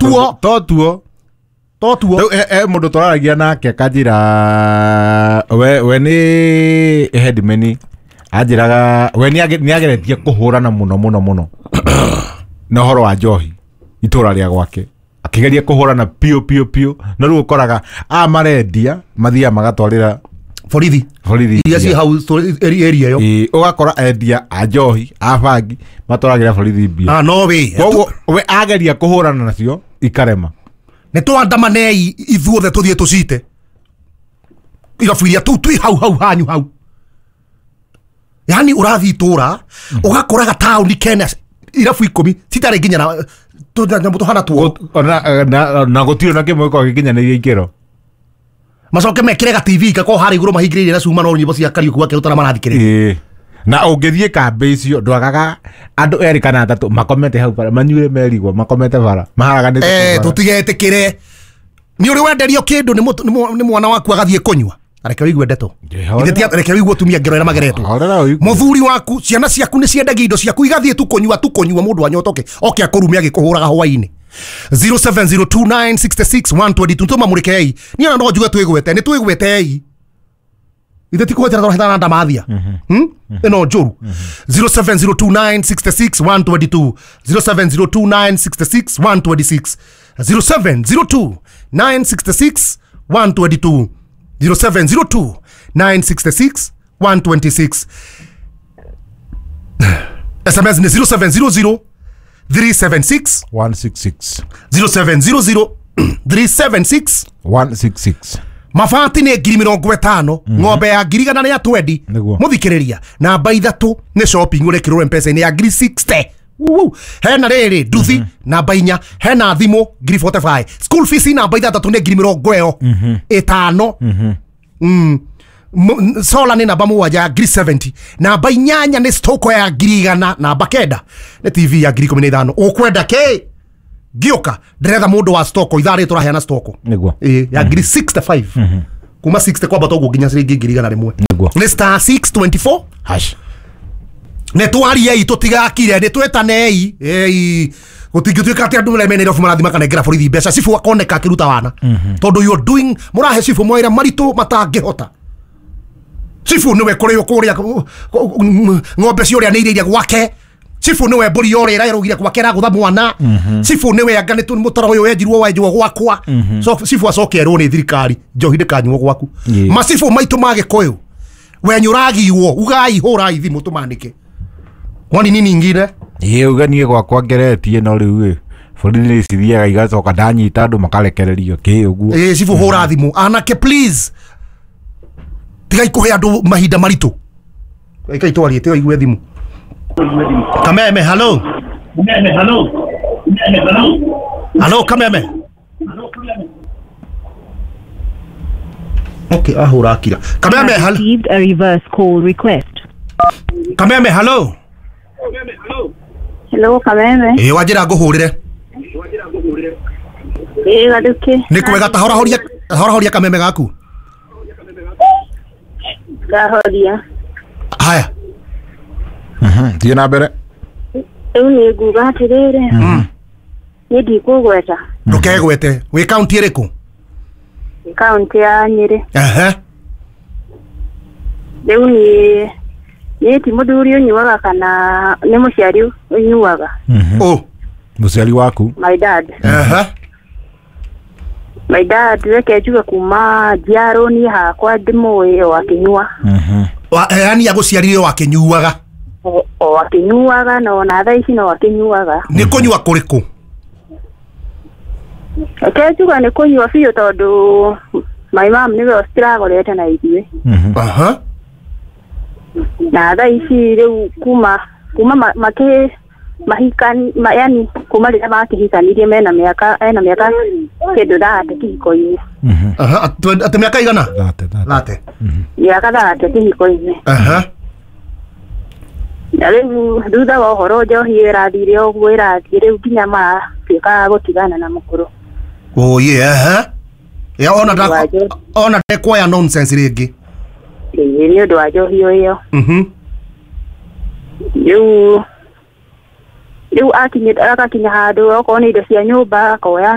Tuo. To tuo. To tuo. Rĩu he mũndũ tũraragia nake akanjĩra we nĩ headman anjĩraga we nĩageretie kũhũrana mũno mũno mũno na ũhoro wa njohi itũra rĩa gwake akĩgeria kũhũrana piũ piũ piũ no rĩu ũkoraga a marendia mathiaga magatwarĩra borithi borithi iria ciĩ hau area ĩyo. Ĩĩ, ũgakora endia a njohi a bangi matwaragĩra borithi mbia. Ah, no we. Koguo we ageria kũhũrana nacio ikarema. Nĩ twandamanei ithuothe tũthiĩ tũcite irabu iria tũu twĩ hau hau hanyu hau. Yani ũrathiĩ itũra ũgakoraga taũni kena irabu 10 citarĩ nginya na tũnyamũ tũhana tuo. Na gũtirĩ na kĩmwe gĩkoragwo gĩkinyanĩirie ikĩro. Macoke mekĩre ga TV gakorwo harĩa igũrũ mahingĩrĩirie na cuma no nyĩmbo cia Kariũki wa Kĩrũtara marathikĩrĩria. Ĩĩ. Na ũngĩthiĩ kambĩ icio ndwagaga andũ erĩ kana atatũ makomete hau bara manyuire merigwo makomete bara maharaganĩte kũu bara. Tũtigetĩkĩre. Nĩ ũrĩ wenderio kĩndũ nĩ mwana waku agathiĩ kũnyua. Reke ũigue ndeto. Reke ũigue tumia ngero ĩrĩa mageretwo. Horera ũigue. Mũthuri waku ciana ciaku nĩ ciendagia indo ciaku igathiĩ tu kũnyua tu kũnyua mũndũ anyotoke oke akũrume agĩkũhũraga hwaĩ-inĩ. 0702966122 tũmamũrĩkei. Niĩ ona no njuge twĩgwete nĩ twĩgwetei. Ithe ti kũgwetera tũrahĩtana na ndamathia. Ĩno njũru. 0702966122 0702966126 0702966122 0702966126. SMS ni 0700 376 166 0700 376 166. Mabati nĩ 50,000 ng'ombe ya 120,000 mũthikĩrĩria namba 3 nĩ shopping ũrekĩrwo M-Pesa-inĩ ya 60,000. Hena rĩrĩ nduthi namba 4 hena thimũ 45,000 school fees namba 6 nĩ 50,000. Sola nĩ namba 7 ya 70,000 namba 8 nĩ stoko ya 100,000 namba 9 nĩ TV ya 15,000. Ũkwenda kĩ ngĩũka ndĩretha mũndũ wa stoko ithaa rĩrĩ tũraheana stoko nĩguo ya 65,000 kuma 60 kwambata ũguo nginya ciringi 100,000. Nĩguo nĩ star 624 hash. Nĩ twariei tũtigakire nĩ twetanei gũtingĩtuĩka atĩ andũ arĩa mena irabu marathiĩ makanengera borithi mbeca cibũ akoneka akĩruta wana tondũ you are doing mũrahe cibũ mawĩra maritũ matangĩhota. Cibũ nĩwe kũrĩo kũrĩa ng'ombe ciũrĩa nĩ gwake. Cibũ nĩwe mbũri yorĩa ĩrarũgire gwake ĩragũtha mwana. Cibũ nĩwe anga nĩ mũtaro ũyũ wenjirwo wenjwo gwakwa. So cibũ acoke erwo nĩ thirikari njohi ndĩkanyuo gwaku. Macibũ maitũ ma Gĩkũyũ wenyu ũragiwo ugai hũrai thimũ tũmanĩke. Kwani nini ingine? Ĩĩ uga niĩ gwakwa ngeretie no rĩu ĩ borithi nĩ cithiaga igacoka ndanyita andũ makarekererio kĩ ũguo. Ĩĩ cibũ hũra thimũ anake please tigai kũhe andũ mahinda maritũ. Ikai twarie tiga igue thimũ. Kameme hello. Hello Kameme. Okay ahura akira. Kameme hello. Received a reverse call request. Kameme hello. Hello Kameme. Ĩĩ wanjĩra ngũhũrĩre. Ĩĩ Gathuki. Nĩ kwega ta horahoria kameme gaku. Ngahoria. Haya. Thiĩ na mbere. Rĩu nĩ nguga atĩrĩrĩ. Niĩ ndikũgweta. Ndũkegwete. Wĩ kaunti ĩrĩkũ? Kaunti ya Nyĩrĩ. Ehe. Rĩu niĩ ti mũthuri ũnyuaga kana nĩ mũciari ũnyuaga. Oh, mũciari waku? My dad. Ehe. My dad reke njuge kuma njiarwo niĩ hakwa ndĩmũĩ o akĩnyua. Yani agũciarire o akĩnyuaga? O akĩnyuaga na ona thaa ici no akĩnyuaga. Nĩ kũnyua kũrĩkũ? Reke njuge nĩ kũnyua biũ tondũ my mom nĩwe ũciragũrĩte na ithuĩ. Aha. Na thaa ici rĩu kuma makĩ mahikani yani kuma rĩrĩa makĩhikanirie mena mĩaka ena mĩaka kĩndũ thate kĩhiko-inĩ. Aha, atĩ mĩaka igana? Thate. Mĩaka thate kĩhiko-inĩ. Aha. Na rĩu thutha wa ũhoro njohi ĩrathire ũguo ĩrathiĩ rĩu nginya maratuĩka a gũtigana na mũkũrũ. Oh yeah, aha. Ya ona ona ndekuoya nonsense rĩngĩ. Ĩĩ nĩ ũndũ wa njohi ĩyo. Rĩu rĩu agakinya handũ okorwo nĩ indo cia nyũmba akoya.